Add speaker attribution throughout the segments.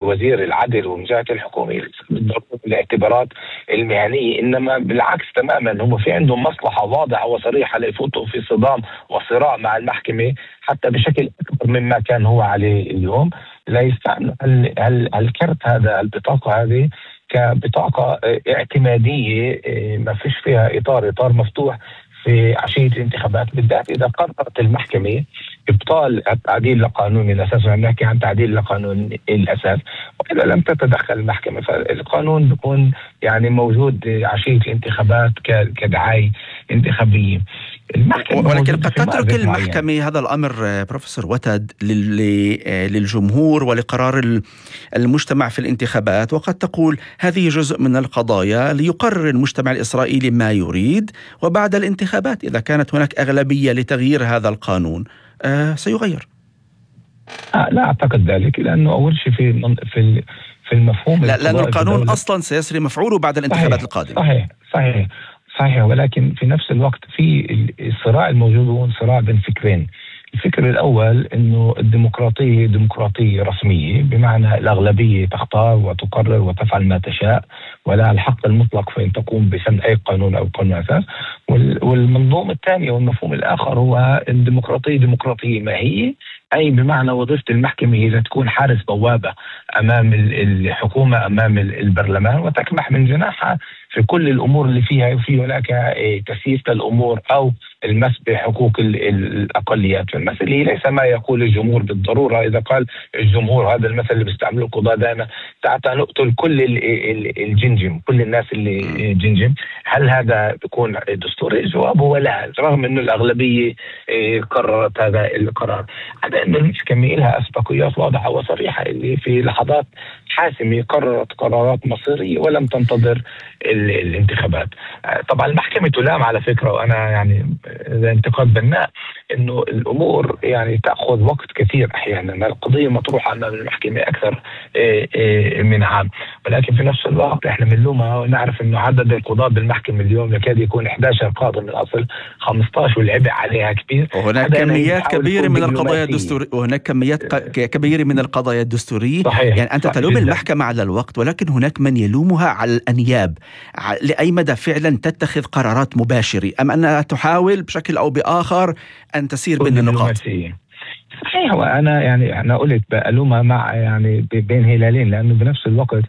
Speaker 1: وزير العدل ومجاهة الحكومة بالضرورة الاعتبارات المهنية، إنما بالعكس تماما هم في عندهم مصلحة واضحة وصريحة ليفوتوا في صدام وصراع مع المحكمة حتى بشكل أكبر مما كان هو عليه اليوم، لا يستعمل الكرت هذا، البطاقة هذه كبطاقة اعتمادية ما فيش فيها إطار مفتوح في عشية الانتخابات، بالذات إذا قررت المحكمة إبطال التعديل لقانون الأساس، ونحكي عن تعديل لقانون الأساس، وإذا لم تتدخل المحكمة فالقانون بيكون يعني موجود عشية الانتخابات كدعاية انتخابية.
Speaker 2: ولكن قد تترك المحكمة هذا الأمر بروفيسور وتد للجمهور ولقرار المجتمع في الانتخابات، وقد تقول هذه جزء من القضايا ليقرر المجتمع الإسرائيلي ما يريد، وبعد الانتخابات إذا كانت هناك أغلبية لتغيير هذا القانون سيغير.
Speaker 1: لا أعتقد ذلك، لأنه أول شيء في المفهوم
Speaker 2: لأن القانون أصلا سيسري مفعوله بعد الانتخابات القادمة.
Speaker 1: صحيح، ولكن في نفس الوقت في الصراع الموجود هو صراع بين فكرين. الفكر الأول أنه الديمقراطية ديمقراطية رسمية، بمعنى الأغلبية تختار وتقرر وتفعل ما تشاء ولا الحق المطلق فإن تقوم بسن أي قانون أو قانون أساس. والمنظوم الثاني والمفهوم الآخر هو الديمقراطية ديمقراطية ماهية، أي بمعنى وظيفة المحكمة هي تكون حارس بوابة أمام الحكومة أمام البرلمان، وتكمح من جناحها في كل الأمور اللي فيها هناك تسييس الأمور أو المس بحقوق الأقليات. فالمثل ليس ما يقول الجمهور بالضرورة. إذا قال الجمهور، هذا المثل اللي بيستعمله القضاة دائما، تعال نقتل كل الجنجم، كل الناس اللي جنجم، هل هذا بيكون دستوري؟ الجواب هو لا، رغم أنه الأغلبية قررت هذا القرار. هذا أن المحكمة لها أسبقيات واضحة وصريحة اللي في لحظات حاسمة قررت قرارات مصيرية ولم تنتظر الانتخابات. طبعا المحكمة تلام على فكرة، وأنا يعني إذا انتقاد بناء، إنه الأمور يعني تأخذ وقت كثير أحيانا. القضية مطروحة أمام المحكمة أكثر من عام، ولكن في نفس الوقت إحنا بنلومها ونعرف إنه عدد القضاة بالمحكمة اليوم يكاد يكون 11 قاضي من أصل 15، والعبء عليها كبير.
Speaker 2: وهناك كميات كبيرة من القضايا الدستورية، وهناك كميات كبيرة من القضايا الدستورية. يعني أنت تلوم المحكمة على الوقت، ولكن هناك من يلومها على الأنياب. لأي مدى فعلا تتخذ قرارات مباشرة، أم أنها تحاول بشكل أو بآخر أن تسير بين النقاط؟
Speaker 1: صحيح، وأنا يعني أنا قلت بألومها مع يعني بين هلالين، لأنه بنفس الوقت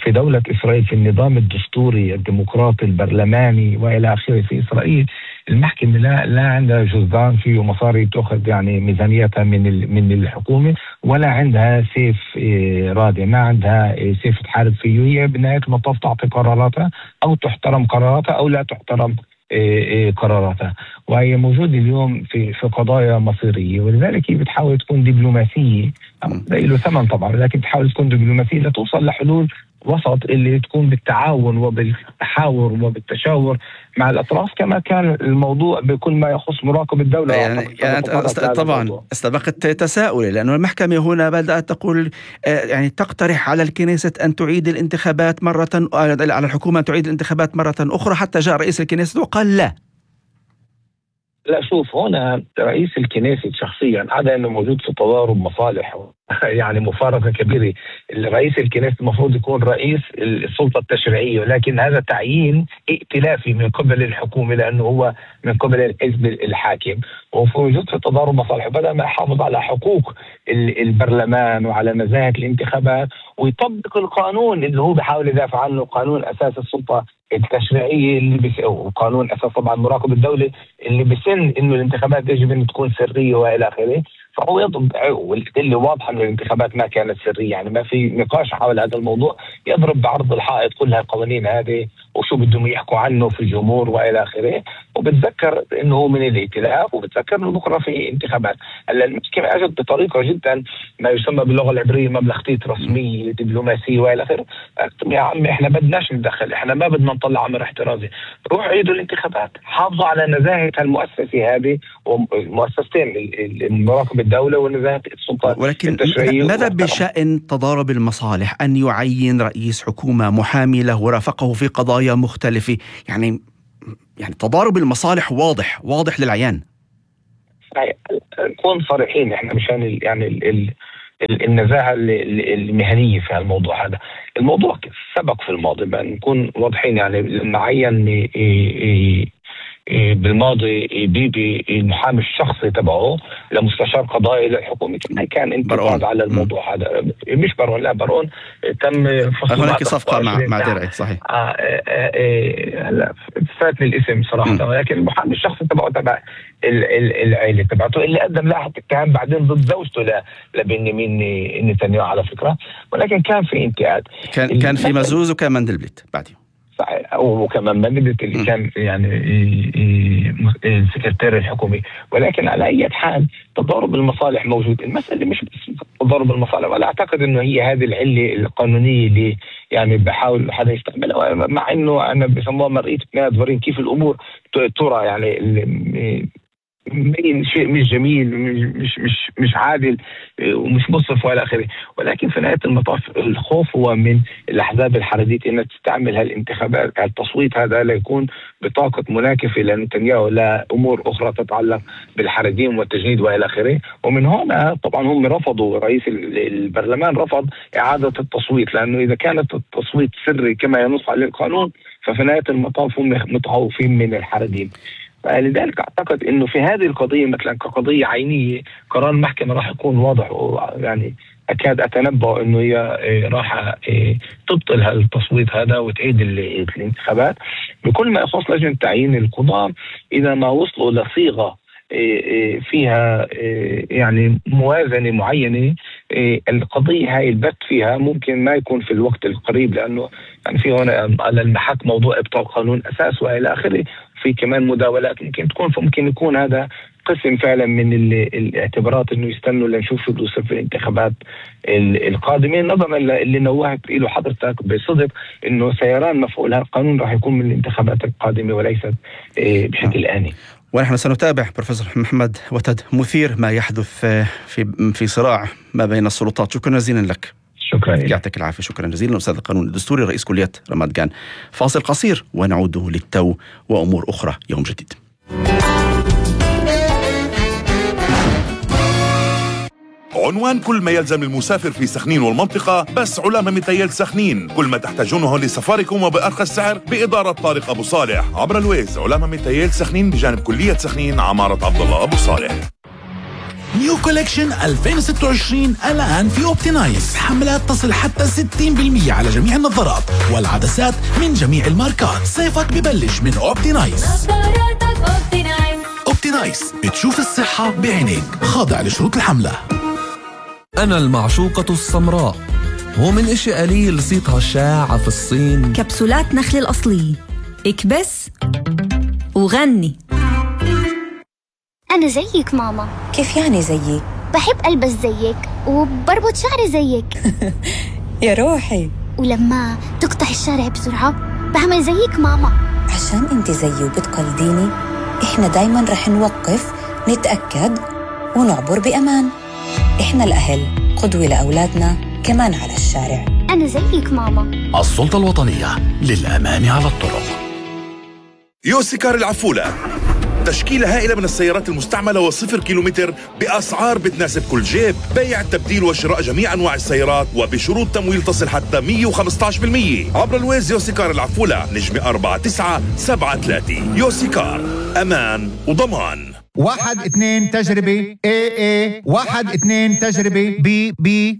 Speaker 1: في دولة إسرائيل، في النظام الدستوري الديمقراطي البرلماني وإلى آخره في إسرائيل، المحكمة لا عندها جزدان فيه مصاري تأخذ يعني ميزانيتها من الحكومة، ولا عندها سيف رادع، ما عندها سيف تحارب فيه. هي بنهاية المطاف تعطي قراراتها، أو تحترم قراراتها أو لا تحترم قراراتها، وهي موجودة اليوم في قضايا مصيرية. ولذلك هي بتحاول تكون دبلوماسية، له ثمن طبعا، لكن بتحاول تكون دبلوماسية لتوصل لحلول وسط اللي تكون بالتعاون وبالتحاور وبالتشاور مع الأطراف، كما كان الموضوع بكل ما يخص مراقب الدولة.
Speaker 2: يعني طبعا استبقت تساؤلي، لأن المحكمة هنا بدأت تقول يعني تقترح على الكنيسة أن تعيد الانتخابات مرة، على الحكومة أن تعيد الانتخابات مرة أخرى، حتى جاء رئيس الكنيسة وقال لا.
Speaker 1: شوف، هنا رئيس الكنيسة شخصيا هذا انه موجود في تضارب مصالح يعني مفارقة كبيرة. رئيس الكنيسة المفروض يكون رئيس السلطة التشريعية، ولكن هذا تعيين ائتلافي من قبل الحكومة، لأنه هو من قبل الحزب الحاكم، وموجود في تضارب مصالح. بدل ما يحافظ على حقوق البرلمان وعلى نزاهة الانتخابات ويطبق القانون اللي هو بيحاول يدافع عنه، قانون أساس السلطة التشريعية وقانون أساس طبعا مراقب الدولة اللي بسن إنه الانتخابات يجب أن تكون سرية وإلى آخره، فهو يضرب، واللي واضح أن الانتخابات ما كانت سرية، يعني ما في نقاش حول هذا الموضوع، يضرب بعرض الحائط كل هالقوانين هذه وشو بدهم يحكوا عنه في الجمهور وإلى آخره، وبتذكر إنه هو من الائتلاف، وبتذكر إنه بكرة في انتخابات. هلا المشكلة أجت بطريقة جدا ما يسمى باللغة العبرية مبلغتية رسمية دبلوماسية وإلى آخره. يا عمي إحنا بدناش ندخل، إحنا ما بدنا نطلع أمر احترازي، روح عيدوا الانتخابات، حافظوا على نزاهة المؤسسة هذه ومؤسستين، المراقب الدولة ونزاهة السلطة التشريعية.
Speaker 2: ولكن ماذا بشأن تضارب المصالح، أن يعين رئيس حكومة محامي له ورافقه في قضايا مختلفة؟ يعني تضارب المصالح واضح للعيان.
Speaker 1: نكون صريحين، احنا مشان يعني النزاهة المهنية في الموضوع هذا. الموضوع سبق في الماضي، بأن نكون واضحين. يعني لما عين بالماضي بيبي المحامي الشخصي تبعه لمستشار قضائي للحكومة، ما كان انتقاد على الموضوع هذا. مش برون، لا برون تم فصل
Speaker 2: هناك صفقة مع درعي، صحيح.
Speaker 1: لا فاتني الاسم صراحة، ولكن المحامي الشخصي تبع العائلة تبعته اللي قدم لاحق اتهام بعدين ضد زوجته لبنيامين نتنياهو على فكرة، ولكن كان في انتقاد.
Speaker 2: كان في مزوز وكان مندلبلت بعدين،
Speaker 1: صحيح، وكمان مندلبلت اللي كان يعني السكرتير الحكومي. ولكن على أي حال تضارب المصالح موجود. المسألة مش بس تضارب المصالح، ولا أعتقد إنه هي هذه العلة القانونية اللي يعني بحاول حدا يستعملها، مع إنه أنا بسموها مرئية نادورين كيف الأمور ترى. يعني شيء مش جميل، مش عادل ومش مصرف ولا آخره. ولكن في نهاية المطاف الخوف هو من الأحزاب الحريدية أنها تستعمل هالانتخابات، التصويت هذا ليكون بطاقة مناكفة لنتنياهو لأمور أخرى تتعلق بالحريديم والتجنيد وإلى آخره. ومن هنا طبعا هم رفضوا، رئيس البرلمان رفض إعادة التصويت، لأنه إذا كانت التصويت سري كما ينص عليه القانون ففي نهاية المطاف هم متخوفين من الحريديم. لذلك أعتقد أنه في هذه القضية مثلا كقضية عينية قرار المحكمة راح يكون واضح، يعني أكاد أتنبأ أنه هي راح تبطل التصويت هذا وتعيد الانتخابات. بكل ما يخص لجنة تعيين القضاة، إذا ما وصلوا لصيغة فيها يعني موازنة معينة، القضية هاي البت فيها ممكن ما يكون في الوقت القريب، لأنه يعني في هنا على المحك موضوع إبطال قانون أساس وإلى آخره، في كمان مداولات ممكن تكون، فممكن يكون هذا قسم فعلا من الاعتبارات انه يستنوا لنشوف شو بده يصير في الانتخابات القادمه، نظرا اللي نوهت له حضرتك بصدق انه سيران مفعول هذا القانون راح يكون من الانتخابات القادمه وليست بشكل آني.
Speaker 2: ونحن سنتابع بروفيسور محمد وتد مثير ما يحدث في صراع ما بين السلطات. شكرا جزيلا لك.
Speaker 1: شكرا،
Speaker 2: يعطيك العافية. شكرا جزيلا أستاذ القانون الدستوري رئيس كلية رماد جان. فاصل قصير ونعود للتو وأمور أخرى يوم جديد.
Speaker 3: عنوان كل ما يلزم المسافر في سخنين والمنطقة، بس علامة متيل سخنين، كل ما تحتاجونه لسفاركم وبأرخص سعر بإدارة طارق أبو صالح عبر الويز. علامة متيل سخنين بجانب كلية سخنين عمارة عبد الله أبو صالح.
Speaker 4: نيو كولكشن 2026 الآن في أوبتينايز، حملات تصل حتى 60% على جميع النظارات والعدسات من جميع الماركات. صيفك ببلش من أوبتينايز. أوبتينايز، تشوف الصحة بعينيك، خاضع لشروط الحملة.
Speaker 5: أنا المعشوقة السمراء، هو من إشي قليل صيتها شاعة في الصين.
Speaker 6: كبسولات نخل الأصلية، اكبس وغني.
Speaker 7: أنا زيك ماما.
Speaker 8: كيف يعني زيك؟
Speaker 7: بحب ألبس زيك وبربط شعري زيك.
Speaker 8: يا روحي.
Speaker 7: ولما تقطع الشارع بسرعة بعمل زيك ماما.
Speaker 8: عشان انت زيي وبتقلديني، احنا دايما رح نوقف نتأكد ونعبر بأمان. احنا الأهل قدوة لأولادنا كمان على الشارع.
Speaker 7: أنا زيك ماما.
Speaker 4: السلطة الوطنية للأمان على الطرق.
Speaker 3: يوسيكار العفولة، تشكيلة هائلة من السيارات المستعملة و0 كيلومتر بأسعار بتناسب كل جيب. بيع، تبديل وشراء جميع أنواع السيارات وبشروط تمويل تصل حتى 115% عبر الويز. يوسيكار العفولة، نجمة 4973. يوسيكار، أمان وضمان.
Speaker 9: 1 2 تجربة AA 1 2 تجربة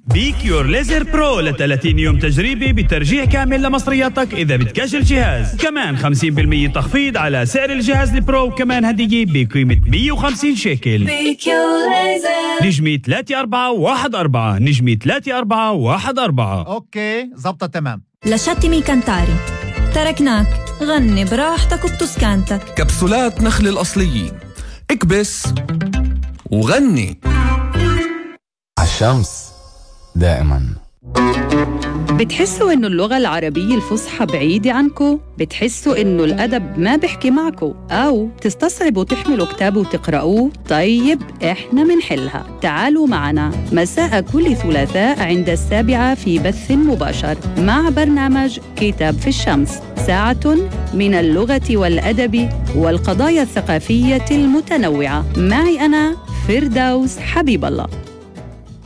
Speaker 10: بيكيور ليزر برو ل 30 يوم تجريبي بترجيع كامل لمصرياتك إذا بتكشل جهاز. كمان 50% تخفيض على سعر الجهاز البرو، كمان هدية بقيمة 150 شيكل.
Speaker 11: بيكيور ليزر،
Speaker 10: نجمة 3414، نجمة 3414.
Speaker 9: أوكي زبطة تمام.
Speaker 6: لشتمي كنتاري، تركناك غني براحتك وبتسكانتك.
Speaker 5: كبسولات نخل الأصليين، اكبس وغني.
Speaker 12: عالشمس دائما.
Speaker 13: بتحسوا إنه اللغة العربية الفصحى بعيدة عنكو؟ بتحسوا إنه الأدب ما بحكي معكو؟ أو تستصعبوا تحملوا كتاب وتقرأوه؟ طيب إحنا منحلها. تعالوا معنا مساء كل ثلاثاء عند 7 في بث مباشر مع برنامج كتاب في الشمس، ساعة من اللغة والأدب والقضايا الثقافية المتنوعة. معي أنا فردوس حبيب الله.